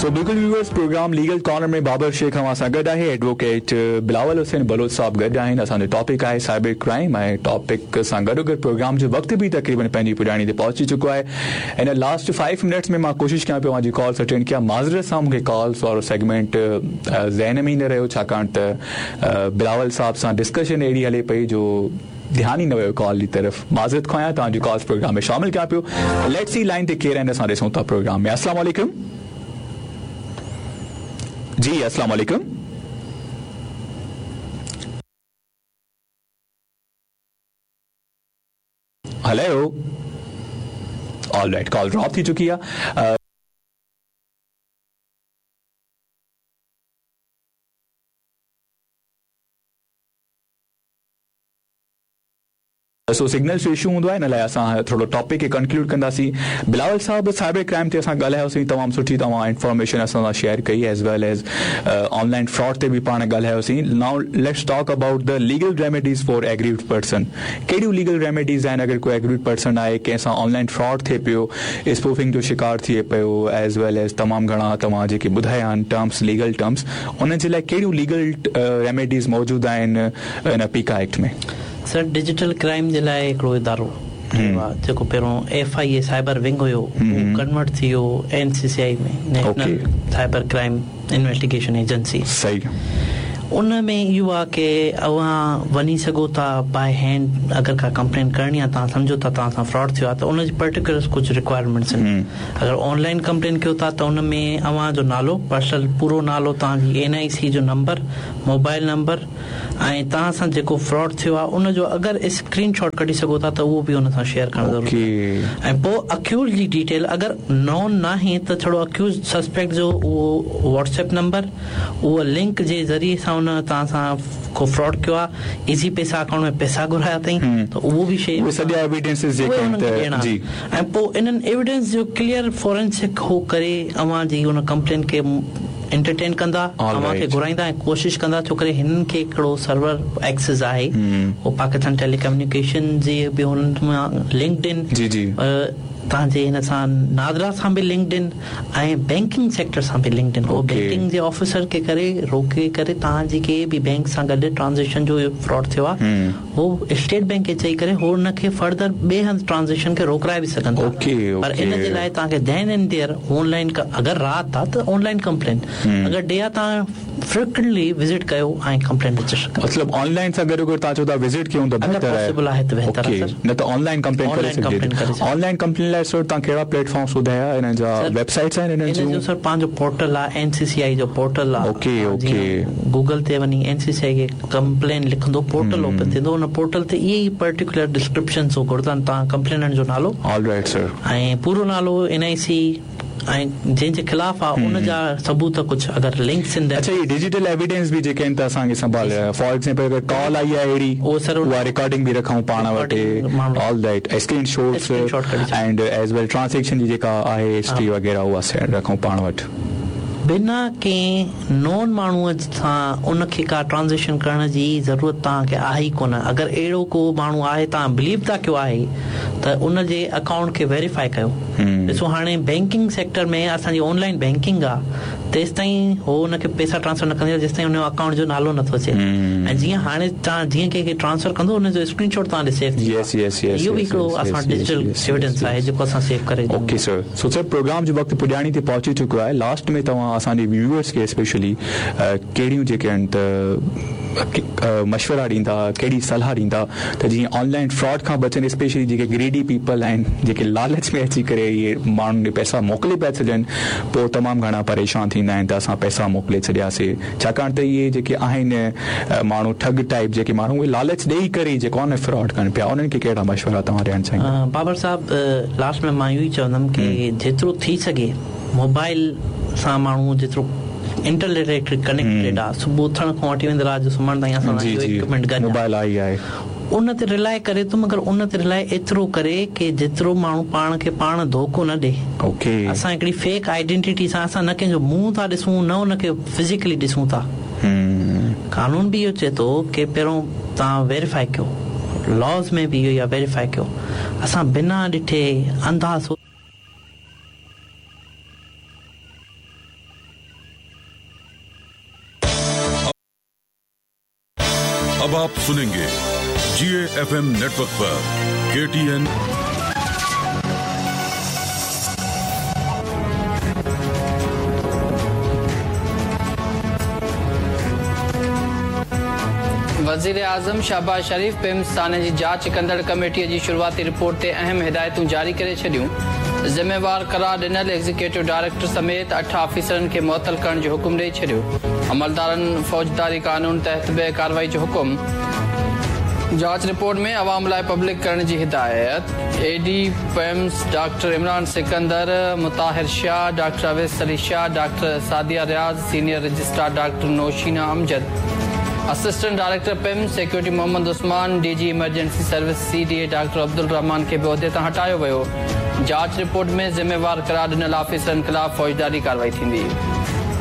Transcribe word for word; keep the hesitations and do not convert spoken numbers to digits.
سو بلڪل viewers, program legal corner ۾ Babar Sheikh اوهان سان گڏ آهي، ايڊووڪيٽ بلاول حسين بلوچ صاحب گڏ آهن. اسان جو ٽاپڪ آهي سائبر ڪرائم ۽ ٽاپڪ سان گڏو گڏ پروگرام جو وقت به تقريبن پنهنجي پڄاڻي تي پهچي چڪو آهي. هن لاسٽ فائيو منٽس ۾ مان ڪوشش ڪيان پيو اوهان جي ڪالس اٽينڊ ڪيان. معذرت سان مون کي ڪالس وارو سيگمينٽ ذهن ۾ ئي نه رهيو، ڇاڪاڻ ته بلاول صاحب سان ڊسڪشن اهڙي هلي پئي جو ڌيان ئي نه ويو ڪال جي طرف. معذرت خواهه آهيان، توهان جي ڪالس پروگرام ۾ شامل ڪيان پيو. Let's see line تي ڪير آهن، اسان ڏسون ٿا پروگرام ۾. السلام عليڪم. جي السلام عليڪم. هلو، آل رائٽ، ڪال ڊراپ ٿي چڪي آهي. سو سگنلز جو اشو هوندو آهي، ان لاء اسان ٿورو ٽاپڪ کي ڪنڪلوڊ ڪنداسين. بلاول صاحب، سائبر ڪرائم تي اسان ڳالهايوسين، تمام سٺي توهان انفارميشن اسان سان شيئر ڪئي، as well as on line fraud تي به پاڻ ڳالهايوسين. Now let's talk about the legal remedies for aggrieved person. ڪهڙيون ليگل ريميڊيز آهن اگر ڪو ايگريوڊ پرسن آهي، ڪنهن سان آن لائن فراڊ ٿئي پيو، اسپوفنگ جو شڪار ٿئي پيو، ايز ويل ايز تمام گهڻا توهان جيڪي ٻڌايا آهن ٽرمس، ليگل ٽرمس، انهن جي لاء ڪهڙيون ليگل ريميڊيز موجود آهن ان پيڪا ايڪٽ ۾؟ سر، ڊجيٽل ڪرائم جي لاءِ هڪڙو ادارو ٺهيو آهي، جيڪو پهريون F I A cyber wing هيو، اهو ڪنورٽ ٿي ويو N C C I ۾ national cyber crime investigation agency. صحيح ان ۾ اهو آهي ڪه اوهان وڃي سگهو ٿا باءِ هينڊ، اگر ڪا ڪمپلين ڪرڻي آهي، توهان سمجهو ٿا توهان سان فراڊ ٿيو آهي، ته ان جي پرٽيڪولر ڪجهه رڪوائرمينٽس آهن. اگر آنلائن ڪمپلين ڪيو ٿا ته ان ۾ اوهان جو نالو، پرسنل پورو نالو، توهان جي اين I سي جو نمبر، موبائل نمبر ۽ توهان سان جيڪو فراڊ ٿيو آهي ان جو اگر اسڪرين شاٽ ڪڍي سگهو ٿا ته اهو به ان سان شيئر ڪرڻ ضروري آهي. ۽ پوءِ اڪيوز جي ڊيٽيل، اگر نون ناهي ته ڇڙو اڪيوز سسپيڪٽ جو اهو واٽس ايپ نمبر، اهو لنڪ جي ذريعي سان ان توهان سان ڪو فراڊ ڪيو آهي، ايزي پئسا اڪائونٽ ۾ پئسا گهرايا اٿئي، ته اهو به شيءِ اهي سڄا ايويڊنسز جيڪي آهن ته جي. ۽ پوءِ انهن ايويڊنس جو ڪليئر فورينسڪ هو ڪري اوهان جي ان ڪمپلين کي انٽرٽين ڪندا، اوهان کي گهرائيندا ۽ ڪوشش ڪندا، ڇو ڪري هنن کي هڪڙو سرور ايڪسيس آهي، اهو پاڪستان ٽيلي ڪميونيڪيشن جي به هنن مان لنڪڊ آهن، جي جي توهان جي هن سان نادرا سان به لنڪڊ آهن ۽ بينڪنگ سيڪٽر سان به لنڪڊ آهن. اهو بينڪنگ جي آفيسر کي ڪري روڪي ڪري توهان جي ڪنهن به بينڪ سان گڏ ٽرانزيڪشن جو فراڊ ٿيو آهي، هو اسٽيٽ بينڪ کي چئي ڪري هو هن کي فردر ٻئي هنڌ ٽرانزيڪشن کي روڪرائي به سگهن ٿا. پر ان جي لاءِ توهان کي then and there online, اگر رات آهي ته آنلائن ڪمپلين، اگر ڊي آهي توهان فريڪوئنٽلي وزٽ ڪيو ۽ ڪمپلين رجسٽر ڪيو. مطلب آنلائن سان گڏو گڏ توهان چئو ٿا وزٽ ڪيون ته بهتر آهي، پاسيبل آهي ته بهتر آهي سر، نه ته آنلائن ڪمپلين ڪري سگهجي ٿي. آنلائن ڪمپلين لاءِ سر توهان ڪهڙا پليٽ فارمس ٻڌايا، انهن جا ويب سائيٽس آهن انهن جون؟ سر پنهنجو پورٽل آهي، اين سي سي آئي جو پورٽل آهي. اوڪي اوڪي گوگل تي وڃي اين سي سي آئي کي ڪمپلين لکندو، پورٽل اوپن ٿيندو، ان پورٽل تي اهي ئي پرٽيڪولر ڊسڪرپشنس هو گهرندا، توهان ڪمپليننٽ جو نالو، آل رائٽ سر، ۽ پورو نالو، اين I سي ۽ جنهن جي خلاف آهي ان جا ثبوت ڪجهه اگر لنڪس آهن. اڇا، هي ڊجيٽل ايويڊنس به جيڪي آهن ته اسان کي سنڀال، فار ايگزامپل اگر ڪال آئي آهي اهڙي، اهو سر اها رڪارڊنگ به رکون پاڻ وٽ. All right, screenshots and as well transaction جي جيڪا آهي هسٽري وغيره اها رکون پاڻ وٽ. بنا ڪنهن نون ماڻهوءَ سان ان کي ڪا ٽرانزيڪشن ڪرڻ جي ضرورت توهان کي آهي ئي ڪونه. اگر اهڙو ڪو ماڻهو آهي، توهان بليو ٿا ڪيو آهي، ته ان جي اڪائونٽ کي ويريفائي ڪيو. ڏسو هاڻي بينڪنگ سيڪٽر ۾ اسان جي آنلائن بينڪنگ آهي، تيس تائين هو ان کي پئسا ٽرانسفر نه ڪندي جيس تائين ان جو اڪائونٽ جو نالو نٿو اچي. ۽ جيئن هاڻي توهان جيئن ڪنهن کي ٽرانسفر ڪندو ان جو اسڪرين شاٽ توهان ڏي سيو ٿي ويندو. اهو به هڪڙو اسان ڊجيٽل ايويڊنس آهي جيڪو اسان سيو ڪري. اوڪي سر، سو سر پروگرام جو وقت پڄاڻي تي پهچي چڪو آهي. لاسٽ ۾ توهان اسان جي ويوئرس کي اسپيشلي ڪهڙيون جيڪي آهن ته مشورا ڏيندا، ڪهڙي صلاح ڏيندا ته جيئن آنلائن فراڊ کان بچن، اسپيشلي جيڪي گريڊي پيپل آهن جيڪي لالچ ۾ اچي ڪري اهي ماڻهن ڏي پئسا موڪلي پيا ڇڏن، پوءِ تمام گهڻا پريشان ٿيندا آهن ته اسان پئسا موڪلي ڇڏياسين، ڇاڪاڻ ته اهي جيڪي آهن ماڻهو ٺڳ ٽائيپ جيڪي ماڻهو اهي لالچ ڏيئي ڪري جيڪو آهي نه فراڊ ڪن پيا، انهن کي ڪهڙا مشورا توهان ڏيڻ چاهيندا؟ بابر صاحب، لاسٽ ۾ مان اهو ئي چوندم ڪه جيترو ٿي سگهي موبائل سان ماڻهو جيترو انٽرنيٽ ڪنيڪٽيڊ آهي، صبح اٿڻ کان وٺي ويندي رات جو سمهڻ تائين اسان سان اهو اڪوپمينٽ گڏ موبائل آئي آهي، ان تي رلائي ڪري ٿو، مگر ان تي رلائي ايترو ڪري ڪه جيترو ماڻهو پاڻ کي پاڻ ڌوڪو نه ڏي. اوڪي اسان هڪڙي فيڪ آئيڊينٽي سان اسان نه ڪنهن جو منهن ٿا ڏسون نه ان کي فزيڪلي ڏسون ٿا. قانون به اهو چئي ٿو ڪه پهريون توهان ويريفائي ڪيو، لاز ۾ به اهو ئي آهي ويريفائي ڪيو. اسان بنا ڏٺي انداز अब आप सुनेंगे जी ए एफ एम नेटवर्क पर के टी एन। वज़ीर आज़म शहबाज शरीफ पिम्स साने जी जांच कंदड़ कमेटीअ जी शुरूआती रिपोर्ट ते अहम हिदायतूं जारी करे छॾियूं। ज़िम्मेवार करार ॾिनल एग्जीक्यूटिव डायरेक्टर समेत अठ ऑफिसरनि खे मुअतल करण जो हुकुम ॾेई छॾियो। अमलदारनि फौजदारी कानून तहत बि कार्रवाई जो हुकुम। जांच रिपोर्ट में अवाम लाइ पब्लिक करण जी हिदायत। A D PIMS doctor Imran Sikandar, Mutahir Shah, doctor Awais Ali Shah, doctor Sadia Riaz, senior registrar doctor Noshina Amjad, assistant director PIMS security Mohammad Usman, D G emergency service C D A doctor Abdul Rahman खे बि उहिदे तां हटायो वियो। जांच report में ज़िम्मेवार करार ॾिनल ऑफिसरनि ख़िलाफ़ फौजदारी कार्रवाई थींदी।